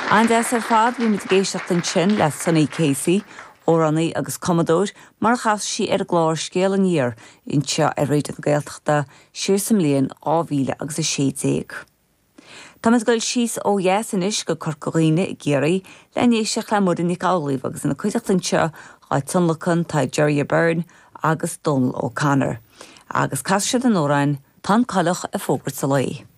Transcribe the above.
An-deas ar fad, bhí muid ag éisteacht ansin le Sonny Casey, amhránaí agus cumadóir, mar a chas sí ar an gclár Scéal Aniar anseo ar Raidió na Gaeltachta siar sa mbliain 2000 agus 16. Táimid ag dul síos ó dheas anois go Corca Dhuibhne i gCiarraí le n-éisteacht le Muireann Nic Amhlaoibh agus ina cuideachta anseo dhá tionlacan tá Gerry Byrne agus Dónal O'Connor. Agus casfaidh siad an amhrán Tá an Coileach ag Fógairt an Lae.